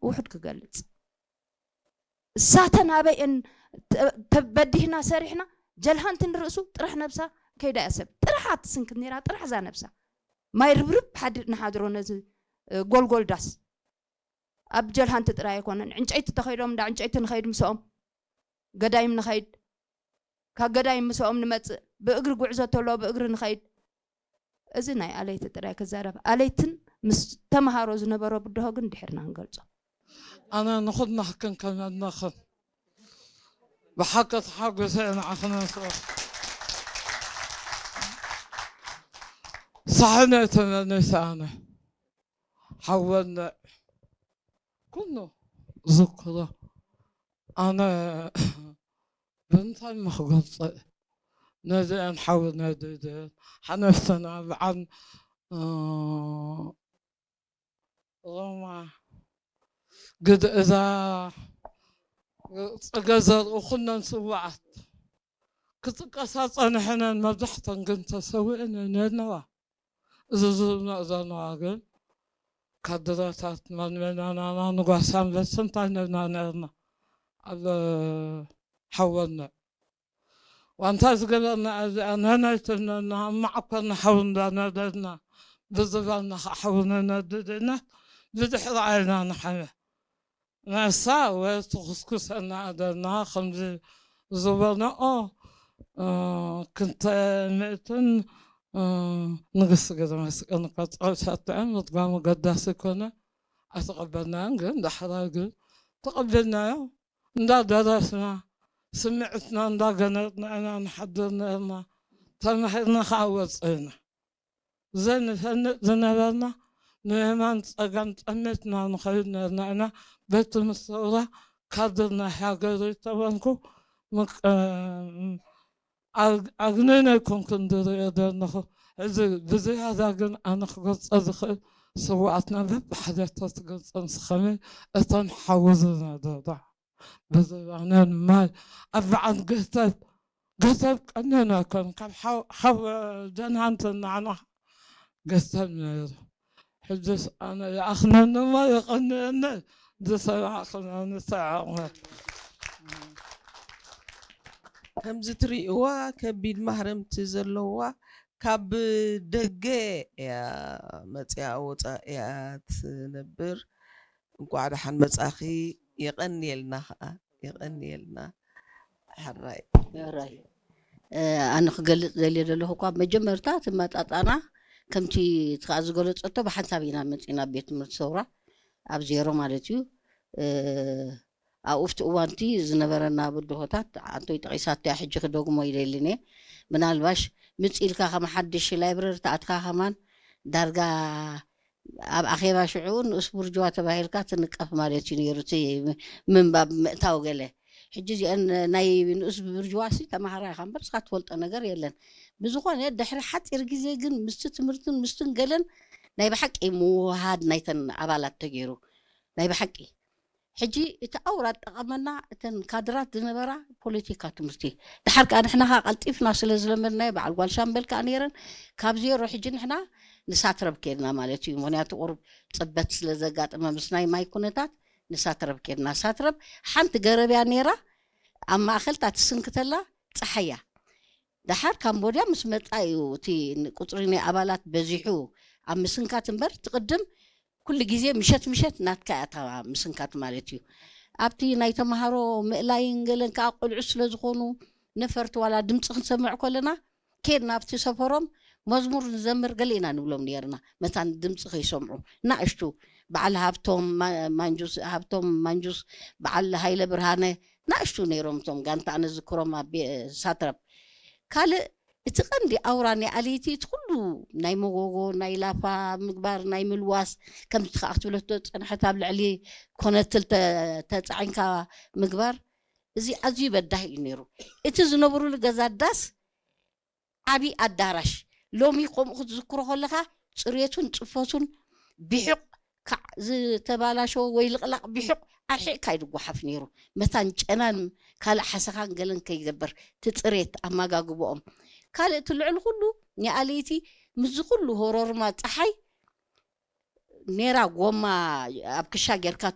ውሑድ ክገልጽ። እሳተን ኣበየን ተ- ተበዲህና ሰሪሕና፣ ጀልሃንቲ ንርእሱ ጥራሕ ነብሳ ከይዳ እያ ሰብ። ጥራሕ ኣትስንክት ነይራ፣ ጥራሕ እዛ ነብሳ። ማይ ርብርብ ሓድ ንሓድሮ ነዚ፣ እ፣ ጎልጎል ዳስ። ኣብ ጀልሃንቲ ጥራይ ኣይኮነን። ዕንጨይቲ ተኸይዶም እንዳ ዕንጨይቲ ንኸይድ ምስኦም። ገዳይም ንኸይድ። ካብ ገዳይም ምስኦም ንመጽእ። ብእግሪ ጉዕዞ ተሎ ብእግሪ ንኸይድ። እዚ ናይ ኣለይቲ ጥራይ ክዛረብ። ኣለይትን ምስ ተምሃሮ ዝነበሮ ብድሆ ግን ድሕርና ንገልጾ። ኣነ ንኹድና ክከንከነናኽን ብሓቂ ተሓጒሰ እየ ንዓኽን ኣንስኦ። ሳሕነ ተመኒሰ ኣነ ሓወነ ኩሉ ዝክሮ ኣነ ብምንታይ ምኽገልጸ ነዚአን ሓውነ ድደን ሓነፍተና በዓል እ፣ ሮማ ግድ እዛ ጸገ ዘርኡ ኩነን ስዋዓት ክጥቀሳ ጸንሐነን መብዛሕተን ግን ተሰዊእን ነነዋ። እዚ ዝብሎ ዘለዋ ግን ካድረታት መንመናናና ንጓሳ ኣንበሲ እንታይ ነብና ነርና ኣብ ሓወነ ዋንታ ዝገበርና እዚኣ ነናይትነና ማዕኮና ሓው እንዳነደድና ብዝባልና ከዓ ሓው ነነድድና ብድሕሪ ዓይና ንሓመ ነሳ ወይ ትኹስኩሰና ኣደና ከምዚ ዝበልናኦ እ፣ ክንተ ምእትን እ፣ ንግስቲ ገዘ መስቀል ንቀፀል ሰጥዐ ምድጋሙ ገዳሲ ኮነ ኣይተቐበልናዮን ግን ዳሕራይ ግን ተቐበልናዮ እንዳደረስና ስምዕትና እንዳገነጥና ኢና ንሓድር ነርና ተማሂርና ከዓ ወፅእና ዘንፈንጥ ዝነበርና ንየማን ፀጋም ጠመትና ንኸይድ ነርና ኢና በቲ ምስተውራ ካድር ናይ ሃገር ተበንኩ ኣግነነ ኮንኩ እንድርእዮ ዘለኹ እዚ ብዝያዳ ግን ኣነ ክገልፀ ዝኽእል ስዋኣትና በብሓደ ተትገልፀ ንስኸመይ እቶም ሓወ ዝነበራ ብዝባነን ማይ ኣብ በዓል ገተብ ገተብ ቀነና ከም ካብ ሓው ደንሃንተ ናዕና ገተብ ነይሩ ሕጅስ ኣነ ይኣኽነኒ እሞ ይቐንየኒ ዝሰማዕኽናኒ ሰዓቕመት ከምዚ ትርእይዋ ከቢድ ማህረምቲ ዘለዋ ካብ ደገ እያ መፅያ ወፃእ እያ ትነብር። እንኳዕ ደሓን መፃኺ። የቐንየልና ከዓ የቐንየልና። ሕራይ ሕራይ ኣነ ክገልፅ ዘልየ ዘለኹ እኳ መጀመርታ እቲ መጣጣና ከምቲ እቲ ከዓ ዝገለፀቶ ብሓንሳብ ኢና መፂና ቤት ትምህርቲ ሰውራ ኣብ ዜሮ ማለት እዩ ኣብኡፍቲ እዋንቲ ዝነበረና ብድሆታት ኣንቶይ ጠቂሳትያ ሕጂ ክደግሞ ይደልን እየ ምናልባሽ ምፅ ኢልካ ከም ሓድሽ ላይብረሪ ተኣትካ ከማን ዳርጋ ኣብ ኣኼባ ሽዑ ንኡስ ቡርጅዋ ተባሂልካ ትንቀፍ ማለት እዩ ነይሩ እቲ ምንባብ ምእታው ገለ ሕጂ እዚአን ናይ ንኡስ ብርጅዋ ሲ ተማሃራይ ኢኻ እምበር እስኻ ትፈልጦ ነገር የለን ብዝኾነ ድሕሪ ሓፂር ግዜ ግን ምስቲ ትምህርትን ምስትን ገለን ናይ ብሓቂ ምውሃድ ናይተን ኣባላት ተገይሩ ናይ ብሓቂ ሕጂ እቲ ኣውራ ጠቐመና እተን ካድራት ዝነበራ ፖለቲካ ትምህርቲ ድሓር ከዓ ንሕና ከዓ ቀልጢፍና ስለ ዝለመድናዮ በዓል ጓል ሻምበል ከዓ ነይረን ካብ ዜሮ ሕጂ ንሕና ንሳትረብ ከድና ማለት እዩ ምክንያቱ ቁሩብ ፅበት ስለ ዘጋጠመ ምስ ናይ ማይ ኩነታት ንሳትረብ ከድና ሳትረብ ሓንቲ ገረብያ ነይራ ኣብ ማእኸል እታ ትስንክተላ ፀሓያ ደሓር ካምቦድያ ምስ መፃ እዩ እቲ ቁፅሪ ናይ ኣባላት በዚሑ ኣብ ምስንካት እምበር ትቕድም ኩሉ ግዜ ምሸት ምሸት ናትካ እያ እታ ምስንካት ማለት እዩ ኣብቲ ናይ ተምሃሮ ምእላይን ገለን ከዓ ቆልዑ ስለ ዝኾኑ ነፈርቲ ዋላ ድምፂ ክንሰምዕ ከለና ኬድና ኣብቲ ሰፈሮም መዝሙር ንዘምር ገለ ኢና ንብሎም ነርና መታን ድምፂ ከይሰምዑ ናእሽቱ በዓል ሃብቶም ማንጁስ ሃብቶም ማንጁስ በዓል ሃይለ ብርሃነ ናእሽቱ ነይሮም እቶም ጋንታ ኣነ ዝክሮም ኣብ ሳትረብ ካልእ እቲ ቀንዲ ኣውራ ናይ ኣለይቲ እቲ ኩሉ ናይ መጎጎ ናይ ላፋ ምግባር ናይ ምልዋስ ከምቲ ከዓ ክትብለቶ ዝፀንሐት ኣብ ልዕሊ ኮነትል ተፃዒንካ ምግባር እዚ ኣዝዩ በዳህ እዩ ነይሩ እቲ ዝነብሩሉ ገዛ ዳስ ዓብዪ ኣዳራሽ ሎሚ ከምኡ ክትዝክሮ ከለኻ ፅሬቱን ፅፈቱን ብሕቕ ካዕ ዝተባላሸወ ወይ ልቕላቕ ብሕቕ ኣርሒቕካ እዩ ዝጓሓፍ ነይሩ መታን ጨናን ካልእ ሓሰኻን ገለን ከይገበር ትፅሬት ኣመጋግብኦም ካልእ እቲ ልዕሊ ኩሉ ኒኣለይቲ ምስዚ ኩሉ ሆሮርማ ፀሓይ ኔራ ጎማ ኣብ ክሻ ጌርካ